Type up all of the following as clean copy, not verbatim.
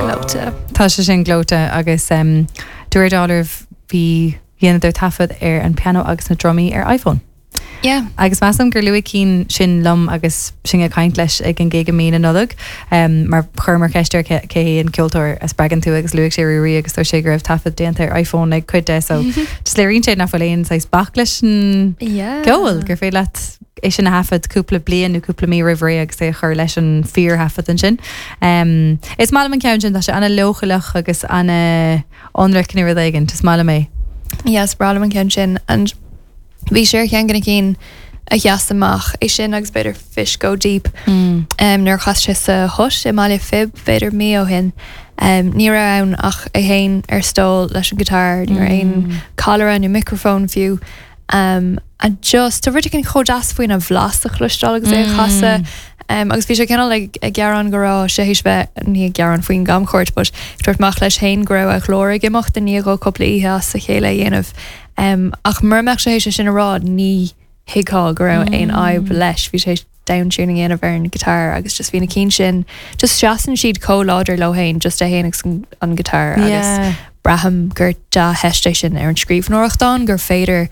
Gleoite. Tá sé sin gleoite agus de réir dealraimh bhí dheineadar taifead ar an piano agus na drumaí ar iPhone. Yeah. Agus measaim gur luaigh Cian sin liom agus sinn ag caint leis ag an gig i mí na Nollag mar chuireamar ceist air cé hé an ceoltóir a spreagann tú agus luaigh sé Ruairí agus dúirt sé go raibh taifead déanta ar iPhone ag cuid de so just léiríonn sé nach bhfuil aon saghas bac leis an Yeah. gceol gur féidir leat é sin a thaifead cúpla bliain nó cúpla mí roimh ré agus é a chur leis an fíorthaifead ansin. Is maith liom an ceann sin, tá sé ana-leochaileach agus ana-ionraic nó rud éigin, is maith liom é. Yeah, is breá liom an ceann sin and bhí sé ar cheann de na cinn a sheas amach, é sin agus b'fhéidir Fish Go Deep nuair a chas sé sa Hut i mBaile Phib b'fhéidir mí ó shin. Ní raibh ann ach é féin ar stól leis an guitar, ní raibh aon callaire nó micreafón fiú. Um, and just, tá rud éigin chomh deas faoina bhlas a chloisteáil agus é a chasadh. Um, agus bhí sé cineál ag, ag gearán go raibh sé théis bheith, ní ag gearán faoin gcamchuairt, but ag tabhairt amach leis féin go raibh a ghlór ag imeacht i ndiaidh dó cúpla oíche as a chéile a dhéanamh. Um, ach mura mbeadh sé théis é sin a rá, ní thuigfeá go raibh aon fhadhb leis. Bhí sé théis down-tuning a dhéanamh ar an guitar agus just bhí na cinn sin, just seasann siad chomh láidir leo féin, just é féin agus an, an guitar agus Yeah. braithim gur dea-theist é sin ar an scríbhneoireacht ann, gur féidir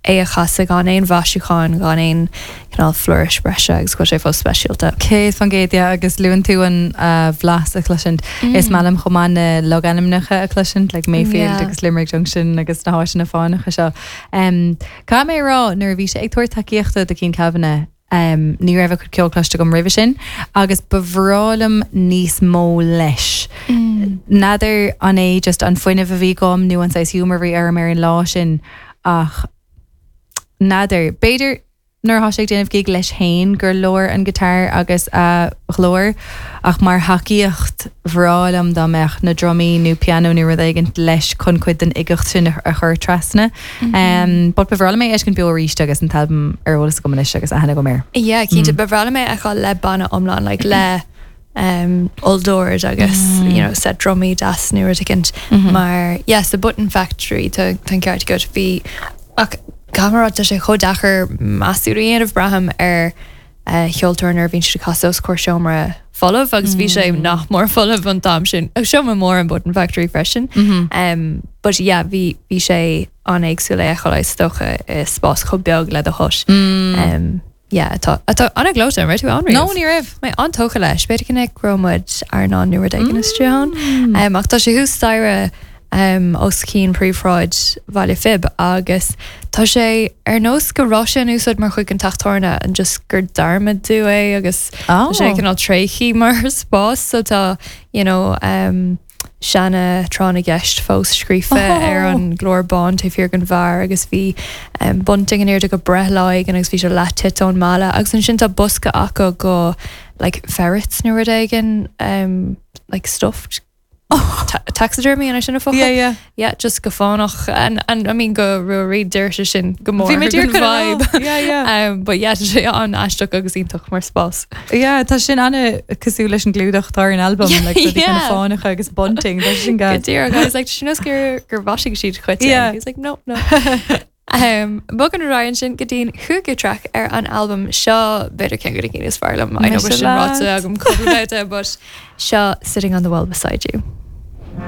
é a chasadh gan aon mhaisiúcháin, gan aon cineál flourish breise agus go bhfuil sé fós speisialta. 100%, yeah, agus luann tú an bhlas a chloisint. Is maith liom chomh maith na logainmneacha a chloisint, like Mayfield Yeah. agus Limerick Junction agus na háiteanna fánacha seo. Um, Caithfidh mé a rá, nuair a bhí sé ag tabhairt tacaíochta do Cian Kavanagh, ní raibh a chuid ceoil cloiste agam roimhe sin agus ba bhreá liom níos mó leis. N'fheadar an é just an fuinneamh a bhí agam nó an saghas humour a bhí orm ar an lá sin ach n'fheadar. B'fhéidir nuair atá sé ag déanamh gig leis féin gur leor an guitar agus a ghlór ach mar thacaíocht bhreá liom dá mbeadh na drumaí nó pianó nó rud éigin leis chun cuid den uigeacht sin a chur trasna. But ba bhreá liom é a fheiscint beo arís agus an t-albam ar eolas agam anois agus aithne agam air. Yeah, cinnte, ba bhreá liom é a fheiceáil le banna iomlán, like le um, olldord agus you know, set drumaí deas nó rud éicint mar yeah, sa Button Factory tá tá an ceart agat bhí ach caithfidh mé a rá tá sé chomh deacair measúnú a dhéanamh braithim ar cheoltóir nuair a bhíonn siad ag casadh os comhair seomra folamh agus bhí sé nach mór folamh an t-am sin. Seomra mór an Button Factory freisin. Um, but yeah, bhí, bhí sé an-éagsúil é a fheiceáil is dócha i spás chomh beag le The Hut. Um, yeah, atá, atá an-ghleoite, an raibh tú ann riamh? No, ní raibh. Mé an-tógtha leis, b'fhéidir go mbeidh go raibh muid airneán nó rud éigin istigh ann. Um, ach tá sé thuas staighre um, os cionn príomhshráid Bhaile Phib agus tá sé ar nós go raibh sé in úsáid mar chuid den teach tábhairne and just gur dearmadadh é agus tá sé Oh. cineál tréigthe mar spás so tá you know, um, seana tráth na gceist fós scríofa Oh. ar an gclár bán taobh thiar den bheár agus bhí um, bunting in airde go breithlá éigin agus bhí sé leath-tite ón mballa agus ansin tá bosca acu go like ferrets nó rud éigin um, like stuffed Taxidermy an é sin an focal? Yeah, yeah. Yeah, just go fánach and, and I mean go Ruairí d'oir sé sin go mór Bhí mé díreach don chun a rá. vibe. Yeah, yeah. Um, but yeah, tá sé an-aisteach agus iontach mar spás. Yeah, tá sin ana cosúil leis an gclúdach atá ar an albam, Yeah, like rudaí kind of yeah. fánacha agus bunting, tá sin Go gas. díreach, I was like, sin gur gur mhaisigh siad chuite. Yeah. He was like, no, no. Um, Bogann ar aghaidh ansin go dtí'n chúigiú traic ar an albam seo, b'fhéidir ceann de na cinn is fearr liom. I know Mise sin ráite leat. agam cúpla babhta, but seo Sitting on the Wall Beside You.